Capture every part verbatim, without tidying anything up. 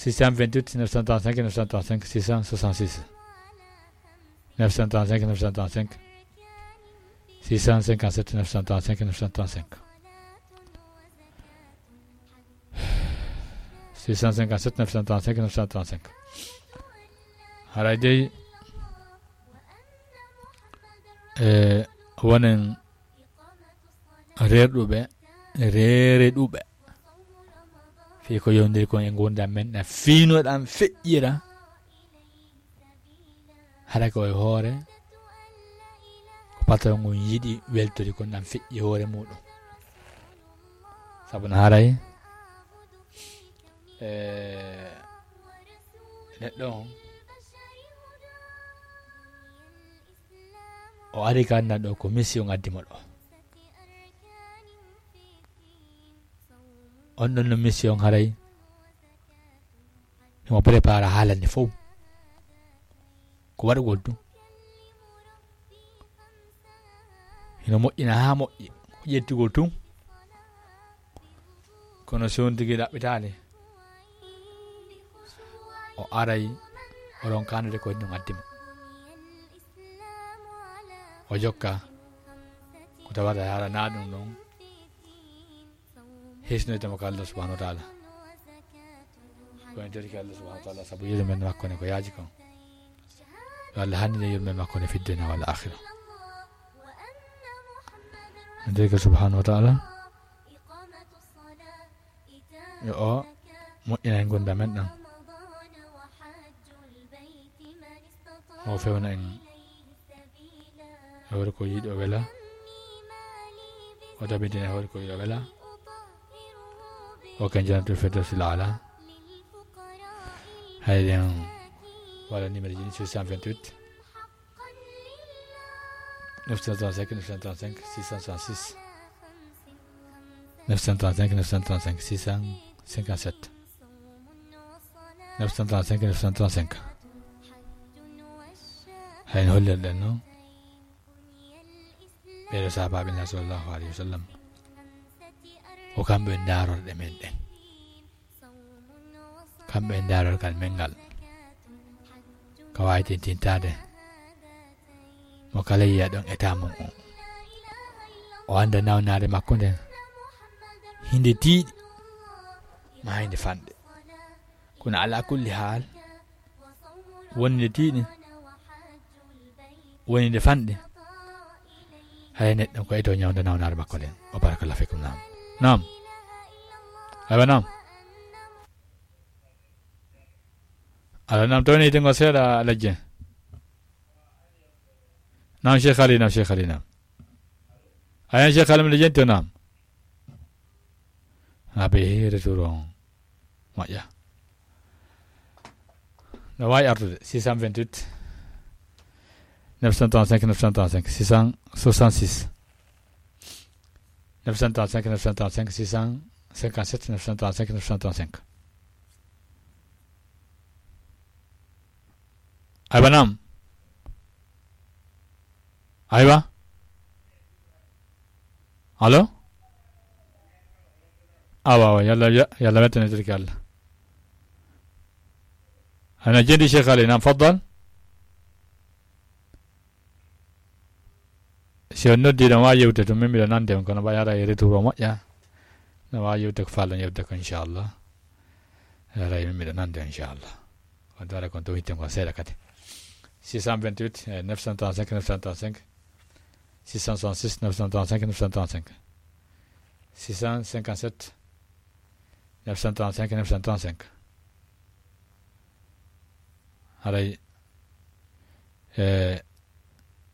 Six cent vingt-huit, neuf cent trente-cinq, neuf cent trente-cinq, six cent soixante-six. Neuf cent trente-cinq, neuf cent trente-cinq, six cent cinquante-sept, neuf cent trente-cinq, neuf cent trente-cinq. Six cent cinquante-sept, neuf cent trente-cinq, neuf cent trente-cinq. Haray dey, e, wonen reerɗuɓe, reereɗuɓe. Fii ko yowndiri kon e ngurndan men, na fiinoɗan feƴƴira. Hara ko e hoore, ko patron ngun yiɗi weltori kon, ɗan feƴƴi hoore muɗum. Sabu no haray, e, neɗɗo on, o ari ka annan ɗo ko mission addi mo ɗo. On ɗon no mission haray, himo prépare haalande fow. Ko waɗugol tun. Hino moƴƴina haa moƴƴi. Ko ƴettugol tun. Kono si on tigi ɗaɓɓitaali, o aray, o ronkaande ko ɗum addi mo. O jokka, ko tawata haala na ɗum ɗon. Hisnoyta mo ko Allah subhanahu wa ta'ala. Ko en torike Allah subhanahu wa ta'ala sabu yurmende makko ne ko yaaji kon. Yo Allah hannine yurmende makko ne fi dunya wal akhirah. En torike subhanahu wa ta'ala. Yo o moƴƴina en ngurndan men ɗan. O fewna en e hoore ko yiɗi o wela. O tabintina e hoore ko yiɗi o wela. O ken jannatul firdawsil aala. Hay ɗen wala numéro ji ni, six cent vingt-huit, neuf cent trente-cinq, neuf cent trente-cinq, six cent soixante-six. Neuf cent trente-cinq, neuf cent trente-cinq, six cent cinquante-sept. Neuf cent trente-cinq, neuf cent trente-cinq. Hay no hollirɗen non, ɓeeɗo sahabaaɓe Nulaaɗo sallallahu alayhi wa sallam, ko kamɓe ndaarorɗe men ɗen. Kamɓe ndaarorgal men ngal. Ka waawi tintintaade mo kala yiya ɗon e taamum on. O annda nawnaare makko nden. Hinde tiiɗi, ma hinde fanɗi. Kono ala kulli haal, wonde tiiɗi, wonde fanɗi, hay neɗɗo ko eto ñawda nawnaare makko nden. O barakallahu fikum. Naam. Naam. Aywa, naam. Ala, naam, tawni ite ngo seeɗa, Alhaji. Naam, Cheikh Ali, naam, Cheikh Ali, naam. Ayan, Cheikh Ali, mi jenti o, naam. Abe retour on. Moƴƴa. No waawi artude, six cent vingt-huit, neuf cent trente-cinq, neuf cent trente-cinq, six cent soixante-six. Neuf cent trente-cinq, neuf cent trente-cinq, six cent cinquante-sept, neuf cent trente-cinq, neuf cent trente-cinq. Aywa, naam. Aywa. Allo? Awa, awa, yalla, ya-, yalla wettane tirki Allah. Ana jendi Cheikh Ali, naam, faddal. Si on noddi, no waawi yewte tun, min miɗo nande on, kono ɓay ara e retour o moƴƴa. No waawi yewte ko faalɗon yewte ko, inchallah. Ara e min miɗo nande on, inchallah. On dara kon to hitte kon seeɗa kadi. Six cent vingt-huit, eh, neuf cent trente-cinq, neuf cent trente-cinq. Six cent soixante-six, neuf cent trente-cinq, neuf cent trente-cinq. Six cent cinquante-sept, neuf cent trente-cinq, neuf cent trente-cinq. Haray, e,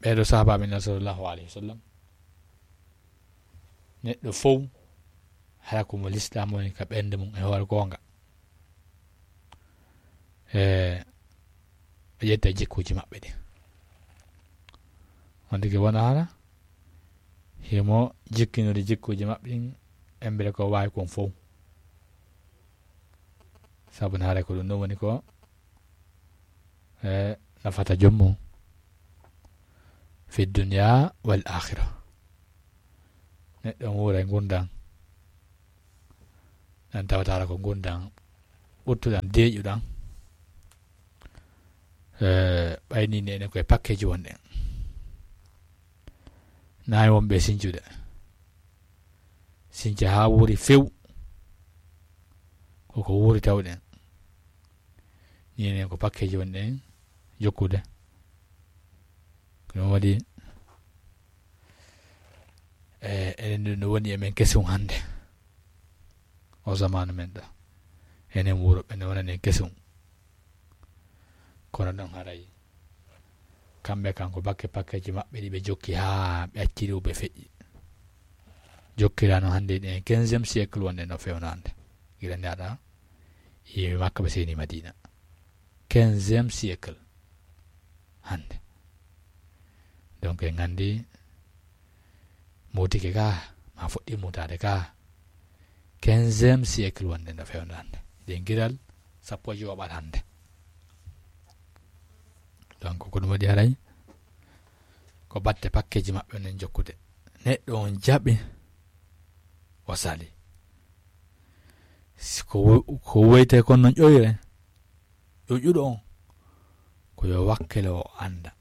ɓeeɗo sahabaaɓe Nulaaɗo sallallahu alayhi wa sallam, neɗɗo fow, hara ko mo Lislaam woni ka ɓernde mum e hoore goonga. E, ɓe ƴetta jikkuuji maɓɓe ɗin. On tigi wona hara, himo jikkinori jikkuuji maɓɓe ɗin, embere ko waawi kon fow. Sabu no haray ko ɗum ɗon woni ko, e, nafata joom mum fi dunya wal akhirah. Neɗɗo on wuura e ngurndan, ɗan tawata ko ngurndan ɓurtuɗan, deeƴuɗan. Eh, ɓayni ni enen koye pakkeji wonɗen. Nayi wonɓe sincude. Since haa wuuri few. Koko wuuri tawɗen. Ni enen ko pakkeji wonɗen jokkude. Ko ɗum waɗi, eh, enen ɗum no woni e men kesum hannde. O zamanu men ɗo. Enen wuro ɓe no wonani en kesum. Kono ɗon haray. Kamɓe kan ko bakke pakkeji maɓɓe ɗi ɓe jokki haa ɓe acciri ɓe feƴƴi. Jokkirano hannde ɗen quinzième siècle wonde no fewno hannde. Gila ndaɗa. Yimɓe Makka ɓe seni Madina. Quinzième siècle. Hannde. Donc en nganndi mutike ka, ma fuɗɗi mutaade ka, quinzième siècle wonde no fewndo hannde. Ɗen giral sappo e jowaɓal hannde. Donc ko ɗum waɗi haray, ko batte pakkeji maɓɓe nen jokkude. Neɗɗo on jaɓi, o sali. Si ko wo-, ko woyte kon non ƴoyre, ƴoƴuɗo on, ko yo wakkilo o annda.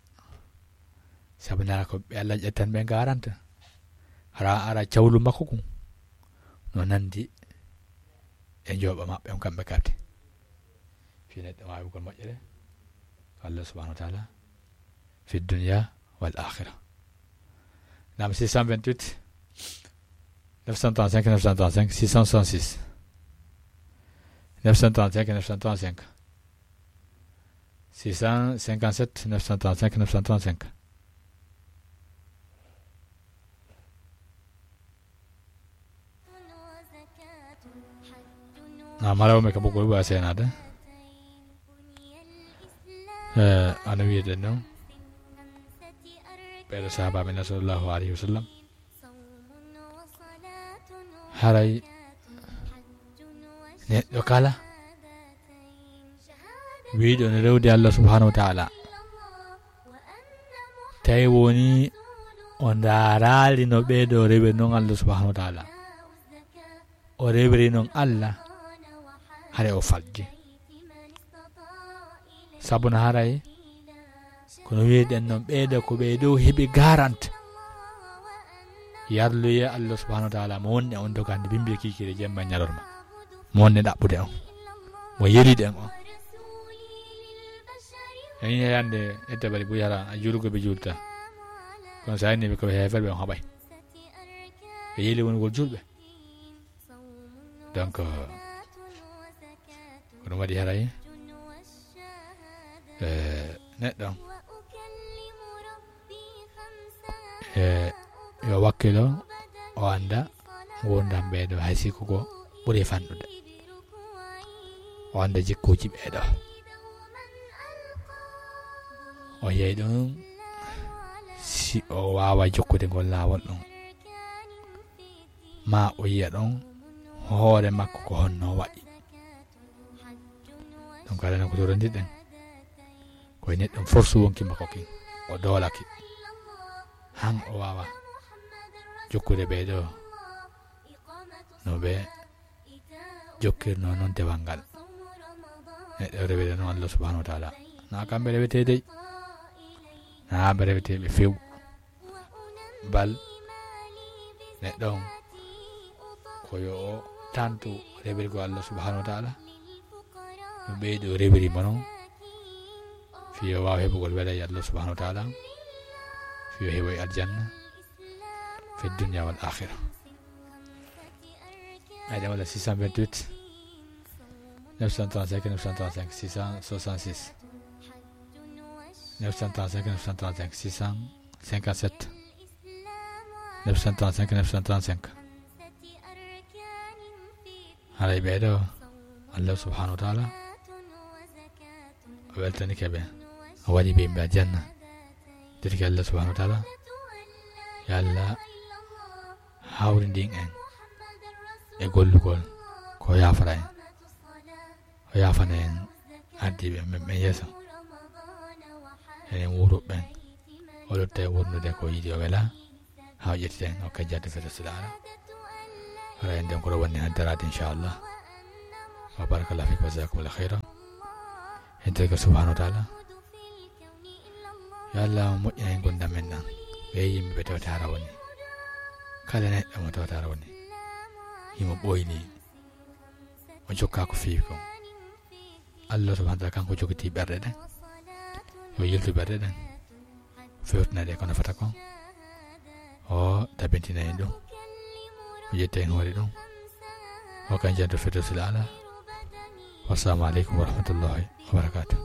Sabu nana ko ɓe Allah ƴettan ɓe garanta. Hara ara cawlu makko kun. No nandi e njooɓa maɓɓe on kamɓe kadi. Fi neɗɗo waawugol moƴƴere. Allah subhanahu wa ta'ala. Fi dunya wal akhirah. Nam six cent vingt-huit, neuf cent trente-cinq, neuf cent trente-cinq, six cent soixante-six. Neuf cent trente-cinq, neuf cent trente-cinq. Six cent cinquante-sept, neuf cent trente-cinq, neuf cent trente-cinq. Na mara o me ka bugu ba senade. Eh, ana wiyeten non. Ɓeɗo sahabaɓe na sallallahu alayhi wa sallam. Haray neɗɗo kala wiiɗo no rewde Allah subhanahu wa ta'ala, tawi woni o ndaaraali no ɓeeɗo rewiri non Allah subhanahu wa ta'ala, o rewiri non Allah, haray o falji. Sabu no haray kono wi'eɗen non ɓeeɗo ko ɓe dow heɓi garante. Yarluye Allah subhanahu wa ta'ala mo wonde on dogande bimbi e kiikire jemma e ñalorma. Mo wonde ɗaɓɓude on. Mo yelide en on. En yiyande ette bari buy hara a juulugo ɓe juulta. Kono sa inni ɓe ko ɓe heeferɓe on haɓay. Ɓe yeli wonugol juulɓe. Donc, euh, ko ɗum waɗi haray, eh, neɗɗo, eh, yo wakkilo, o annda ngurdam ɓeeɗo hay si ko ko ɓuri fanɗude. O annda jikkuuji ɓeeɗo. O yeey ɗum si o waawa jokkude ngol laawol ɗum. Ma o yiya ɗon hoore makko ko honno wa'i. Ɗum kala no ko torondirɗen. Ko e neɗɗo force wonki makko kin. O doolaki. Han o waawa jokkude ɓee ɗo. No ɓe jokkirno non dewal ngal. Neɗɗo rewede non Allah subhanahu wa ta'ala. Na kamɓe rewete dey. Na ɓe rewete ɓe few. Bal neɗɗo on ko yo o tantu rewirgo Allah subhanahu wa ta'ala. No ɓeydo rewiri mo non. Fiyo waawa heɓugol wela e Allah subhanahu wa ta'ala. Fiyo heɓo e aljanna. Fi dunya wal akhirah. Ayda wala six cent vingt-huit, neuf cent trente-cinq, neuf cent trente-cinq, six cent soixante-six. Neuf cent trente-cinq, neuf cent trente-cinq, six cent cinquante-sept. Neuf cent trente-cinq, neuf cent trente-cinq. Haray ɓee ɗo, Allah subhanahu wa ta'ala o weltanike ɓe, o waɗi ɓe yimɓe aljanna. Dirki Allah subhanahu wa ta'ala, yo Allah hawrindin en e gollugol ko yaafara en. O yaafana en ardiiɓe men ɓen yeeso. Enen wuuruɓe ɓen. O lutta e wurnude ko yiɗi o wela. Haa o ƴettita en, o kajjata feta silaara. Hara en nden ko ɗo wonni haddaraade, inchallah. Wa barakallahu fikum wa jazakumullahu khairan. En tawi ko subhanahu wa ta'ala. Yo Allah moƴƴin heen ngurndan men ɗan. Ɓe yimɓe ɓe tawata hara woni. Kala neɗɗo mo tawata hara woni. Himo ɓooyni. O jokka ko feewi kon. Allah subhanahu wa ta'ala kanko jogiti ɓerɗe ɗen. Yo yiltu ɓerɗe ɗen. Fewtina ɗe kono fata kon. O tabintina en ɗum. O ƴetta en hoore ɗum. O kan janto Firdawsil Aala. Wassalamu aleykum wa rahmatullahi wa barakatuh.